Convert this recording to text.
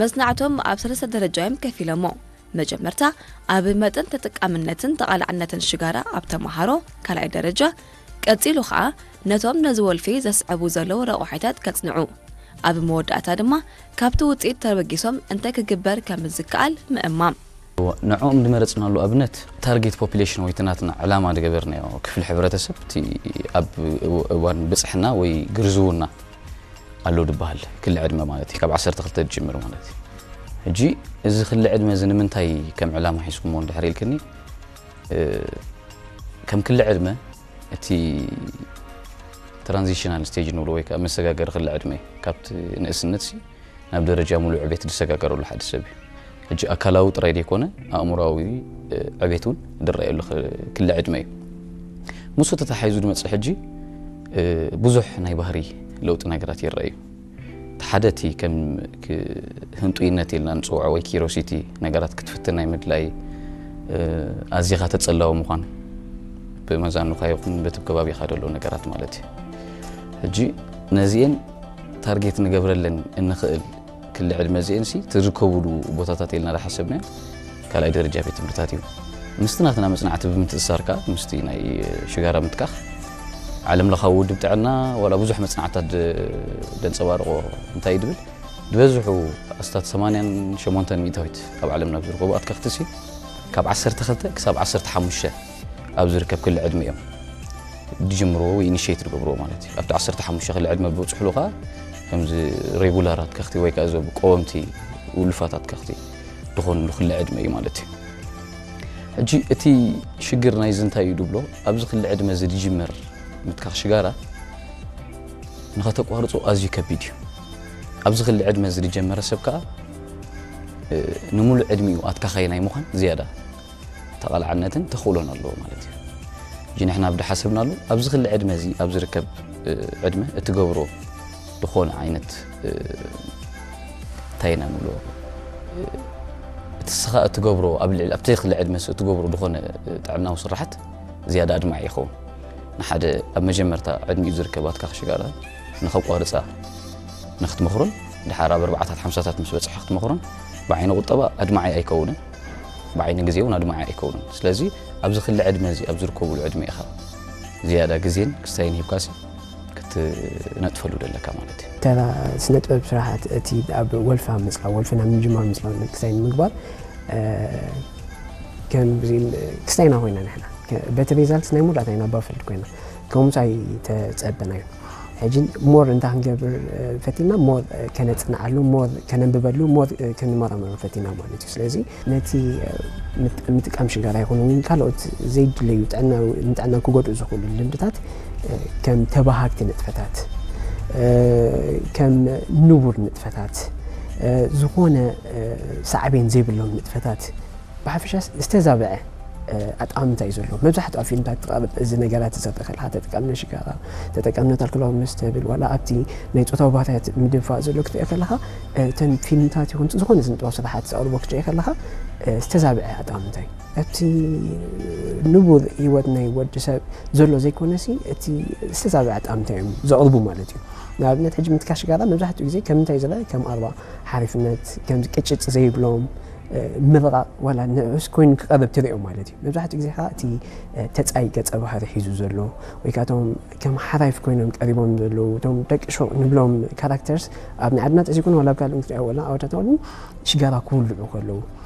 መጽናዕቶም ኣብ ሰለስተ ደረጃ እዮም ከፊሎሞ። መጀመርታ ኣብ መጠን ተጠቃምነትን ተቓላዕነትን ሽጋራ ኣብ ተምሃሮ ካልኣይ ደረጃ፣ ቀጺሉ ኸኣ ነቶም ነዚ ወልፊ ዘስዕቡ ዘለዉ ረቑሒታት ከጽንዑ፣ ኣብ መወዳእታ ድማ ካብቲ ውጽኢት ተበጊሶም እንታይ ክግበር ከም ዝከኣል ምእማም። ንዕኦም ዝመረጽናሉ ኣብነት ታርጌት ፖፑሌሽን ወይ እቲ ናትና ዕላማ ዝገበርናዮ ክፍሊ ሕብረተሰብ እቲ ኣብ እዋን ብጽሕና ወይ ግርዝውና ኣሎ ዝበሃል ክሊ ዕድመ ማለት እዩ። ካብ ዓሰርተ ክልተ ዝጅምር ማለት እዩ። ሕጂ እዚ ክሊ ዕድመ እዚ ንምንታይ ከም ዕላማ ሒዝኩሞ እንድሕር ኢልክኒ፣ እ፣ ከም ክሊ ዕድመ እቲ ትራንዚሽናል ስቴጅ ንብሎ ወይ ከዓ መሰጋገሪ ክሊ ዕድመ እዩ። ካብቲ ንእስነት ሲ ናብ ደረጃ ሙሉእ ዕቤት ዝሰጋገረሉ ሓደ ሰብ እዩ። ሕጂ ኣካላዊ ጥራይ ዘይኮነ ኣእምሮዊ፣ እ፣ ዕቤት እውን ዝረኣየሉ ክ-፣ ክሊ ዕድመ እዩ። ምስኡ ተተሓሒዙ ዝመፅእ ሕጂ፣ እ፣ ብዙሕ ናይ ባህሪ ለውጢ ነገራት ይረኣዩ። እቲ ሓደ እቲ ከም ክ-፣ ህንጡይነት ኢልና ንፅውዖ ወይ ኪሮሲቲ ነገራት ክትፍትን ናይ ምድላይ፣ እ፣ ኣዚኻ ተጸላዊ ምዃን ብመዛኑኻ ይኹን በቲ ከባቢኻ ዘሎ ነገራት ማለት እዩ። ሕጂ ነዚኤን ታርጌት ንገብረለን እንኽእል ክሊ ዕድመ እዚኤን ሲ ትርከቡሉ ቦታታት ኢልና ዝሓሰብናዮ ካልኣይ ደረጃ ቤት ትምህርታት እዩ። ምስቲ ናትና መጽናዕቲ ብምትእስሳር ከኣ ምስቲ ናይ ሽጋራ ምትካኽ ዓለም ለኻዊ ውድብ ጥዕና ዋላ ብዙሕ መጽናዕትታት ደ-፣ ደንጸባርቆ እንታይ እዩ ድብል ዝበዝሑ ኣስታት ሰማንያን ሸሞንተን ሚእታዊት ኣብ ዓለምና ኣብ ዝርከቡ ኣትከኽቲ ሲ ካብ ዓሰርተ ክልተ ክሳብ ዓሰርተ ሓሙሽተ ኣብ ዝርከብ ክሊ ዕድመ እዮም ድጅምርዎ ወይ ኢኒሽት ዝገብርዎ ማለት እዩ። ኣብቲ ዓሰርተ ሓሙሽተ ክሊ ዕድመ ብብፅሕሉ ከዓ ከምዚ ሬጉላር ኣትከኽቲ ወይ ከዓ እዞም ቀወምቲ ውሉፋት ኣትከኽቲ ዝኾንሉ ክሊ ዕድመ እዩ ማለት እዩ። ሕጂ እቲ ሽግር ናይዚ እንታይ እዩ ድብሎ፣ ኣብዚ ክሊ ዕድመ እዚ ድጅመር ምትካኽ ሽጋራ ንኸተቋርጾ ኣዝዩ ከቢድ እዩ። ኣብዚ ክሊ ዕድመ እዚ ድጀመረ ሰብ ከዓ፣ እ፣ ንምሉእ ዕድሚኡ ኣትካኻይ ናይ ምዃን ዝያዳ ተቓላዕነትን ተኽእሎን ኣለዎ ማለት እዩ። ሕጂ ንሕና ኣብ ድሓሰብናሉ ኣብዚ ክሊ ዕድመ እዚ ኣብ ዝርከብ፣ እ፣ ዕድመ እትገብሮ ዝኾነ ዓይነት፣ እ፣ እንታይ ኢና ንብሎ፣ እ፣ እቲ ስኻ እትገብሮ ኣብ ልዕሊ ኣብቲ ክሊ ዕድመ እትገብሮ ዝኾነ፣ እ፣ ጥዕናዊ ስራሓት ዝያዳ ኣድማዒ ይኸውን። ንሓደ ኣብ መጀመርታ ዕድሚኡ ዝርከብ ኣትካኽ ሽጋራ ንኸቋርጻ ንክትመኽሮን ድሓር ኣብ ኣርባዓታት ሓምሳታት ምስ በጽሐ ክትመኽሮን ብዓይኒ ቁጠባ ኣድማዒ ኣይከውንን፣ ብዓይኒ ግዜ እውን ኣድማዒ ኣይከውንን። ስለዚ ኣብዚ ክሊ ዕድመ እዚ ኣብ ዝርከብሉ ዕድመ ኢኻ ዝያዳ ግዜን ክስታይን ሂብካሲ ክትነጥፈሉ ደለካ ማለት እዩ። ተራ ስነ ጥበብ ስራሓት እቲ ኣብ ወልፋ ምጽላው፣ ወልፍና ምጅማር ምጽላው ክስታይ ንምግባር፣ እ፣ ከም ብዚ ክስታይና ኮይና ንሕና ከ-፣ በቲ ሪዛልትስ ናይ መወዳእታ ኢና ባፈልድ ኮይና። ከምኡስ ኣይተጸበናዮ። ሕጂ ሞር እንታይ ክንገብር፣ እ፣ ፈቲና፣ ሞር፣ እ፣ ከነጽንዓሉ፣ ሞር ከነንብበሉ፣ ሞር፣ እ፣ ክንመራመሩ ፈቲና ማለት እዩ። ስለዚ ነቲ፣ እ፣ ምጥ-፣ ምጥቃም ሽጋራ ይኹን እውን ካልኦት ዘይድለዩ ጥዕና፣ ንጥዕና ክጎድኡ ዝኽእሉ ልምድታት፣ እ፣ ከም ተባሃግቲ ንጥፈታት፣ እ፣ ከም ንቡር ንጥፈታት፣ እ፣ ዝኾነ፣ እ፣ ሳዕቤን ዘይብሎም ንጥፈታት ብሓፈሻ ዝተዛብዐ፣ እ፣ ኣጠማምታ እዩ ዘሎ። መብዛሕትኣ ፊልምታት ትቐርብ እዚ ነገራት ትዘርእ ከለኻ፣ ተጠቀምነ ሽጋራ፣ ተጠቀምነ ኣልኮላዊ መስተ ብል፣ ዋላ ኣብቲ ናይ ጾታዊ ባህርያት ምድንፋዕ ዘሎ ክትሪኦ ከለኻ፣ እ፣ እተን ፊልምታት ይኹን ዝኾነ ስነ ጥበብ ስራሓት ዘቕርቦ ክትሪኦ ከለኻ፣ እ፣ ዝተዛብዐ ኣጠማምታ እዩ። እቲ ንቡር ህይወት ናይ ወዲ ሰብ ዘሎ ዘይኮነሲ፣ እቲ ዝተዛብዐ ኣጠማምታ እዮም ዘቕርቡ ማለት እዩ። ንኣብነት ሕጂ ምትካኽ ሽጋራ መብዛሕትኡ ግዜ ከም እንታይ ዝረአ? ከም ኣርባ ሓሪፍነት፣ ከም ቅጭጭ ዘይብሎም፣ እ፣ ምርቓቕ ዋላ ንኡስ ኮይኑ ክቐርብ ትሪኦ ማለት እዩ። መብዛሕትኡ ግዜ ከዓ እቲ፣ እ፣ ተጻይ ገጸ ባህሪ ሒዙ ዘሎ ወይ ከዓ እቶም ከም ሓራይፍ ኮይኖም ቀሪቦም ዘለዉ እቶም ደቂ ሾቕ ንብሎም ካራክተርስ ኣብ ናይ ዓድና ጥራይ ዘይኮነ ዋላ ኣብ ካልእ ክትሪኦ ወላ ዓወታት እውን ሽጋራ ክውልዑ ከለዉ